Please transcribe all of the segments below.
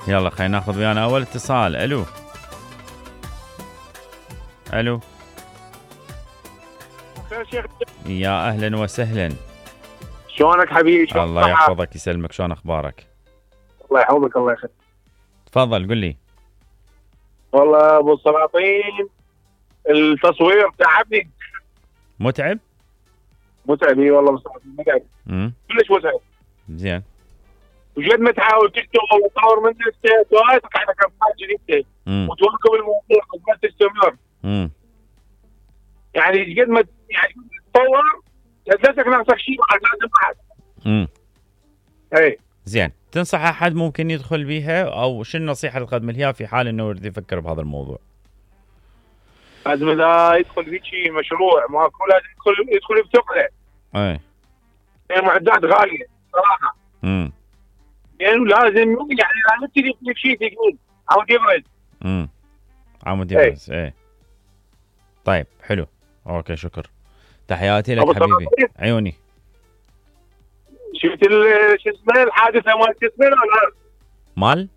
يلا خلينا ناخذ ويانا اول اتصال. الو الو خير شيخ. يا اهلا وسهلا. شلونك حبيبي؟ الله يحفظك يسلمك، شلون اخبارك؟ الله يحفظك الله يخليك. تفضل قل لي. والله ابو السلاطين التصوير تعبني. متعب؟ متعب اي والله متعب. كلش متعب. زين. وجد ما تحاول تشتغل وتطور من نفسك وهاي تقعد على افكار جديده وتواكب الموضوع وما تستمر. يعني قد ما يعني تطور لازمك ناقصك شيء لازم بعد. اي زين. تنصح احد ممكن يدخل بيها او شو النصيحه اللي تقدم لها في حال انه يريد يفكر بهذا الموضوع؟ لازم اذا يدخل في شيء مشروع ماكو لازم يدخل بثقله. اي المعدات غاليه صراحه. يعني لازم يعني لا تبتدي في شيء ثقيل عمود يبرز. عمود يبرز. اي طيب حلو. اوكي شكر. تحياتي لك حبيبي. عيوني. شفت شو اسمه الحادثه مال شو اسمه ولا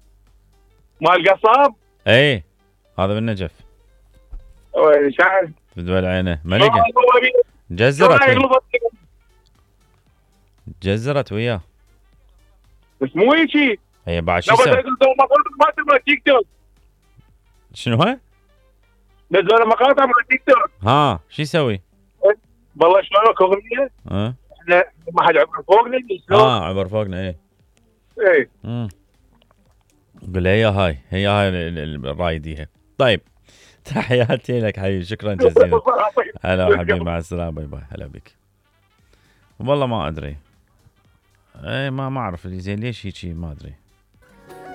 مال قصاب؟ اي هذا بالنجف. شايف بدول عينه ملقه. جزرت وياه. بس مو هيك. هي بعد شو يسوي؟ ما تبغى تيك توك. شنو هو؟ نزل مقاطع مع تيك توك. ها شو يسوي؟ والله شلونك اغنيه؟ احنا ما حد عبر فوقنا. عبر فوقنا. اي قول هي هاي الرايديها. طيب تحياتي لك حبيبي، شكرا جزيلا. هلا حبيبي، مع السلامه، باي باي. هلا بك. والله ما ادري. اي ما اعرف زين ليش هيك، ما ادري.